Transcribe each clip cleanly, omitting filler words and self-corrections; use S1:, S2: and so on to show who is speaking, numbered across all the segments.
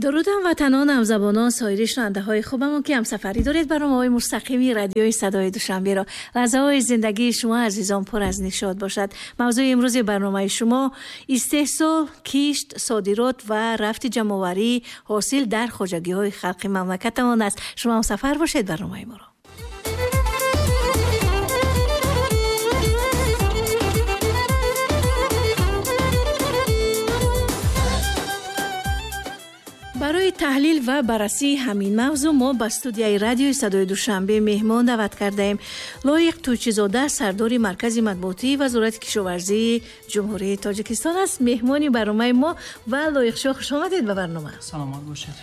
S1: Дуруд ҳамватанон, ҳамзабонон, соири шунавандаҳои хубамон, ки ҳамсафарӣ доред барномаҳои мустақими радиои Садои Душанберо. Лаҳзаҳои зиндагии шумо, азизон, пур аз нишот бошад. Мавзӯи имрӯзи барномаи шумо истеҳсол, кишт, содирот ва рафти ҷамъоварии ҳосил дар хоҷагиҳои халқи мамлакатамон аст. Шумо ҳамсафар бошед барномаи моро. Барои таҳлил ва баррасии ҳамин мавзӯъ мо ба студияи радиои Садои Душанбе меҳмон даъват кардаем. Лоиқ Тӯйчизода, сардори маркази матбуотии Вазорати кишоварзии Ҷумҳурии Тоҷикистон аст. Меҳмони барномаи мо ва Лоиқшоҳ, хуш омадед ба барнома.
S2: Саломат бошед.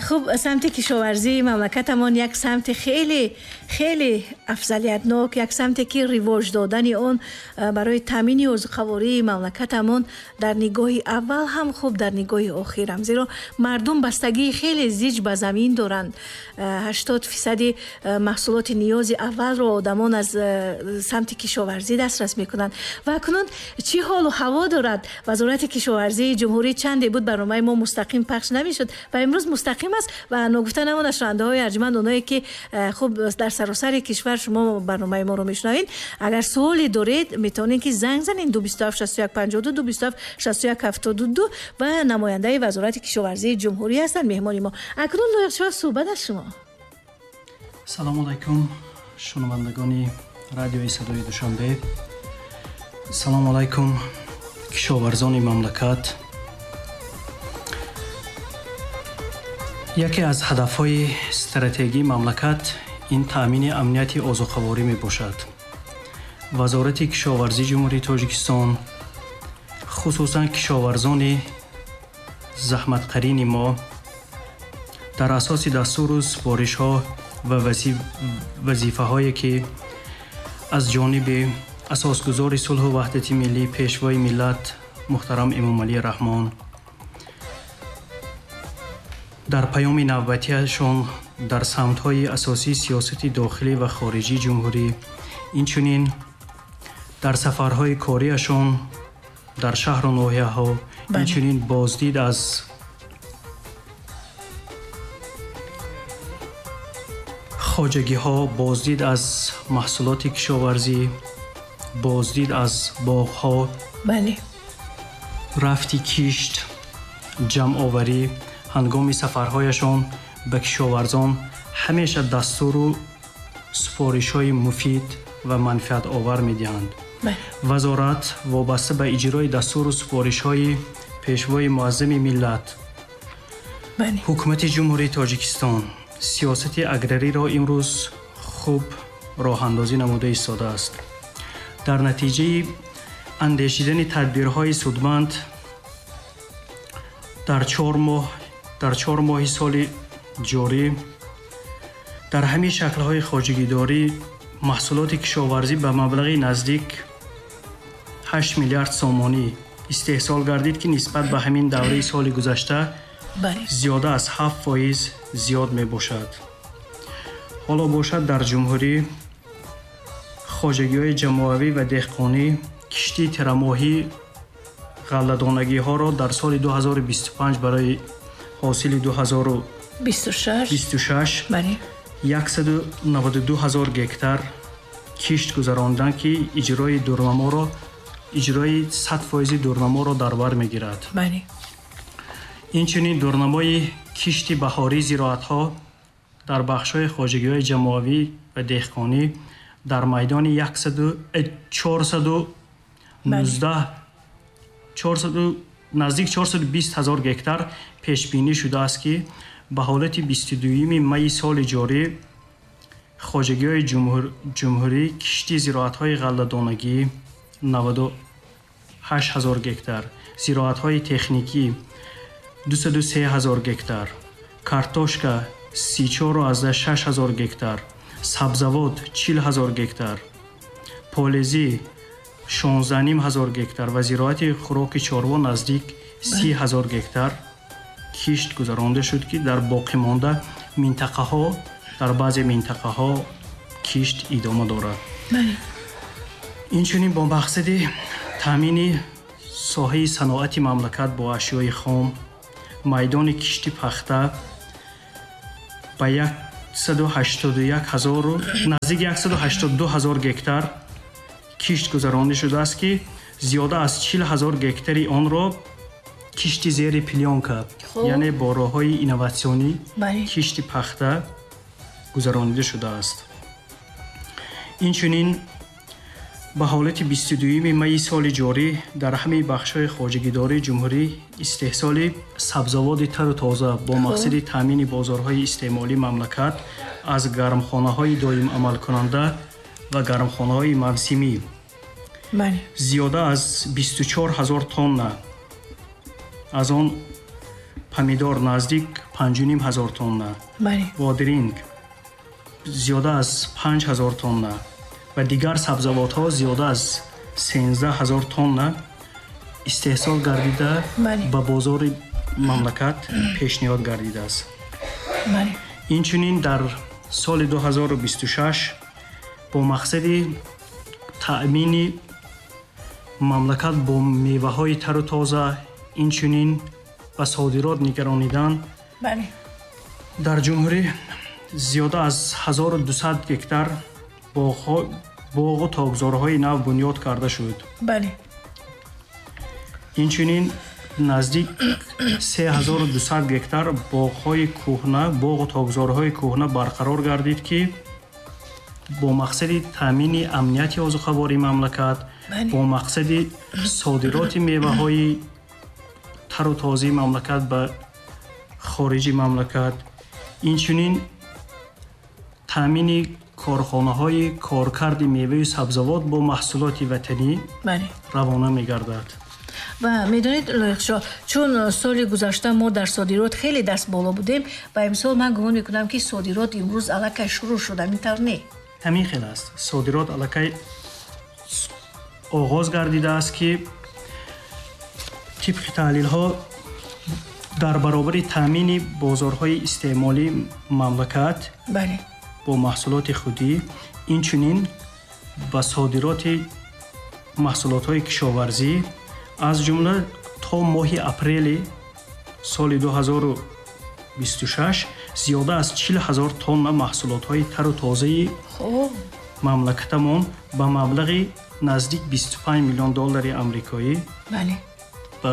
S1: Хуб, самти кишоварзии мамлакатамон як самти хеле хеле афзалиятнок, як самте ки ривоҷ додани он барои таъмини озуқавории мамлакатамон дар нигоҳи аввал ҳам хуб, дар нигоҳи охир ҳам, зеро мардум бастагии хеле зич ба замин доранд. 80% маҳсулоти ниёзи аввалро одамон аз самти кишоварзӣ дастрас мекунанд. Ва акнун чӣ ҳолу ҳаво дорад Вазорати кишоварзии ҷумҳурӣ? Чанде буд барномаи мо мустақим пахш намешуд ва имрӯз мустақим аст ва ногуфта намонад, шунавандаҳои арҷманд, оное ки хуб дар саросари кишвар шумо барномаи моро мешунавед, агар суоле доред, метавонед ки занг занед 227 61 52, 227 61 72 ва намояндаи Вазорати кишоварзии ҷумҳурӣ ҳастанд меҳмони мо. Акнун Лоиқшоҳ, суҳбат аз шумо.
S2: Салому алайкум, шунавандагони радиои Садои Душанбе. Салому алайкум, кишоварзони мамлакат. Яке аз ҳадафҳои стратегии мамлакат ин таъмини амнияти озуқаворӣ мебошад. Вазорати кишоварзии Ҷумҳурии Тоҷикистон, хусусан кишоварзони заҳматқарини мо, дар асоси дастуру супоришҳо ва вазифаҳое ки аз ҷониби асосгузори сулҳу ваҳдати миллӣ, пешвои миллат муҳтарам Эмомалӣ Раҳмон дар паёми навбатиашон дар самтҳои асосии сиёсати дохилӣ ва хориҷии ҷумҳурӣ, инчунин дар сафарҳои кориашон дар шаҳру ноҳияҳо, инчунин боздид аз хоҷагиҳо, боздид аз маҳсулоти кишоварзӣ, боздид аз боғҳо, рафти кишт, ҷамъоварӣ, ҳангоми сафарҳояшон ба кишоварзон ҳамеша дастуру супоришҳои муфид ва манфиатовар медиҳанд. Вазорат вобаста ба иҷрои дастуру супоришҳои пешвои муаззами миллат, ҳукумати Ҷумҳурии Тоҷикистон сиёсати аграриро имрӯз хуб роҳандозӣ намуда истодааст. Дар натиҷаи андешидани тадбирҳои судманд дар 4 моҳи соли ҷорӣ дар ҳамин шаклҳои хоҷагидорӣ маҳсулоти кишоварзӣ ба маблағи наздик 8 миллиард сомонӣ истеҳсол гардид, ки нисбат ба ҳамин давраи соли гузашта зиёда аз 7% зиёд мебошад. Ҳоло бошад, дар ҷумҳурӣ хоҷагиҳои ҷамоавӣ ва деҳқонӣ киштии тирамоҳӣ ғалладонагиҳоро дар соли 2025 барои ҳосили 2026 192 ҳазор гектар кишт гузаронданд, ки иҷрои дурнаморо, иҷрои 100% дурнаморо дар бар мегирад. Инчунин дурнамои кишти баҳории зироатҳо дар бахшҳои хоҷагиҳои ҷамоавӣ ва деҳқонӣ дар майдони 419, наздик 420 ҳазор гектар пешбинӣ шудааст, ки ба ҳолати 22 майи соли ҷорӣ хоҷагиҳои ҷумҳурӣ кишти зироатҳои ғалладонагӣ 98 ҳазор гектар, зироатҳои техникӣ 203 ҳазор гектар, картошка 34,6 ҳазор гектар, сабзавот 40 ҳазор гектар, полезӣ 16,5 ҳазор гектар ва зироати хӯроки чорво наздик 30 ҳазор гектар кишт гузаронда шуд, ки дар боқимонда минтақаҳо, дар баъзе минтақаҳо кишт идома дорад. Инчунин бо мақсади таъмини соҳаи саноати мамлакат бо ашёи хом Майдони кишти пахта ба 181 ҳазору наздик 182 ҳазор гектар кишт гузаронида шудааст, ки зиёда аз 40 ҳазор гектари онро кишти зери плёнка, яъне бо роҳҳои инноватсионӣ кишти пахта гузаронида шудааст. Инчунин ба ҳолати 22 майи соли ҷорӣ дар ҳамаи бахшҳои хоҷагидории ҷумҳурӣ истеҳсоли сабзавоти тару тоза бо мақсади таъмини бозорҳои истеъмолии мамлакат аз гармхонаҳои доимамалкунанда ва гармхонаҳои мавсимӣ зиёда аз 24 ҳазор тонна, аз он помидор наздик 5,5 ҳазор тонна, бодиринг зиёда аз 5 ҳазор тонна ва дигар сабзавотҳо зиёда аз 13 ҳазор тонна истеҳсол гардида ба бозори мамлакат пешниҳод гардидааст. Инчунин дар соли 2026 бо мақсади таъмини мамлакат бо меваҳои тару тоза, инчунин ба содирот нигаронидан дар ҷумҳурӣ зиёда аз 1200 гектар боғу токзорҳои нав бунёд карда шуд. Инчунин наздик 3200 гектар боғҳои кӯҳна, боғу токзорҳои кӯҳна барқарор гардид, ки бо мақсади таъмини амнияти озуқавории мамлакат, бо мақсади содироти меваҳои тару тозаи мамлакат ба хориҷи мамлакат, инчунин таъмини корхонаҳои коркарди меваю сабзавот бо маҳсулоти ватанӣ равона мегардад.
S1: Ва медонед, Лоиқшоҳ, чун соли гузашта мо дар содирот хеле даст боло будем ва имсол ман гумон мекунам, ки содирот имрӯз аллакай шурӯъ шуд, ҳамин тавр не?
S2: Ҳамин хел аст. Содирот аллакай оғоз гардидааст, ки тибқи таҳлилҳо дар баробари таъмини бозорҳои истеъмолии мамлакат бо маҳсулоти худӣ, инчунин ба содироти маҳсулотҳои кишоварзӣ, аз ҷумла то моҳи апрели соли 2026 зиёда аз 40 ҳазор тонна маҳсулотҳои тару тозаи мамлакатамон ба маблағи наздик 25 миллион доллари амрикоӣ ба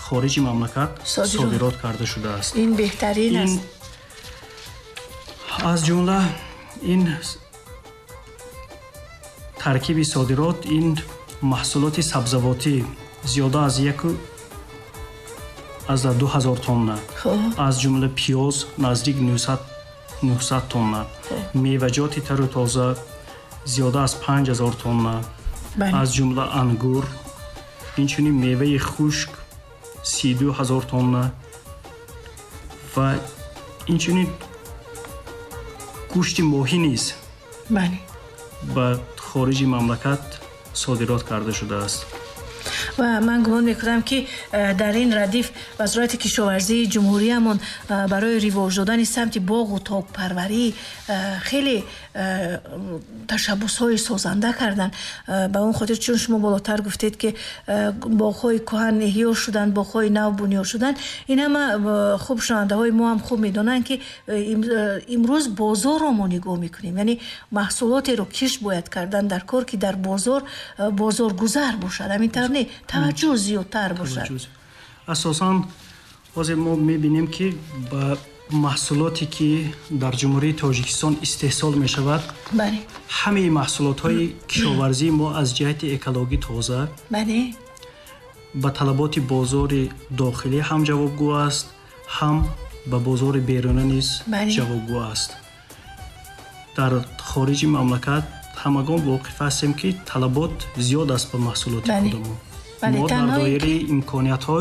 S2: хориҷи мамлакат содирот карда шудааст.
S1: Ин беҳтарин аст.
S2: Аз ҷумла ин таркиби содирот ин маҳсулоти сабзавотӣ зиёда аз 1,2 ҳазор тонна, аз ҷумла пиёз наздик 900 тонна, меваҷоти тару тоза зиёда аз 5 ҳазор тонна, аз ҷумла ангур, инчунин меваи хушк 32 ҳазор тонна ва инчунин гӯшти моҳӣ низ ба хориҷи мамлакат содирот карда шудааст.
S1: Ва ман гумон мекунам, ки дар ин радиф Вазорати кишоварзии ҷумҳуриямон барои ривоҷ додани самти боғу токпарварӣ хеле ташаббусҳои созанда карданд. Ба он хотир, чун шумо болотар гуфтед, ки боғҳои кӯҳан эҳё шуданд, боғҳои нав бунёд шуданд, ин ҳама хуб шунавандаҳои мо ҳам хуб медонанд, ки имрӯз бозорро мо нигоҳ мекунем, яъне маҳсулотеро кишт бояд кардан дар кор, ки дар бозор бозоргузар бошад, ҳамин тавр не, таваҷҷӯҳ зиёдтар бошад.
S2: Асосан ҳозир мо мебинем, ки ба маҳсулоте, ки дар Ҷумҳурии Тоҷикистон истеҳсол мешавад, ҳамаи маҳсулотҳои кишоварзии мо аз ҷиҳати экологӣ тоза, ба талаботи бозори дохилӣ ҳам ҷавобгӯ аст, ҳам ба бозори беруна низ ҷавобгӯ аст. Дар хориҷи мамлакат ҳамагон воқиф ҳастем, ки талабот зиёд аст ба маҳсулоти худамон. Мо дар доираи имкониятҳо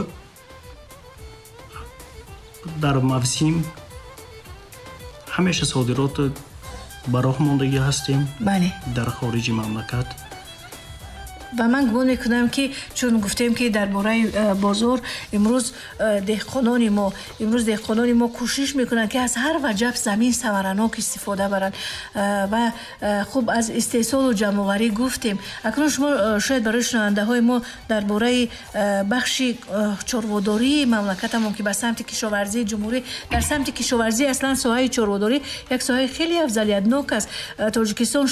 S2: дар мавсим ҳамеша содирот ба роҳ мондагӣ ҳастем дар хориҷи мамлакат.
S1: Ва ман гумон мекунам, ки чун гуфтем, ки дар бораи бозор, имрӯз деҳқонони мо кӯшиш мекунанд, ки аз ҳар ваҷаб замин самаранок истифода баранд. Ва хуб, аз истеҳсолу ҷамъоварӣ гуфтем. Акнун шумо шояд барои шунавандаҳои мо дар бораи бахши чорводории мамлакатамон, ки ба самти кишоварзии ҷумҳурӣ, дар самти кишоварзӣ аслан соҳаи чорводорӣ як соҳаи хеле афзалиятнок аст. Тоҷикистон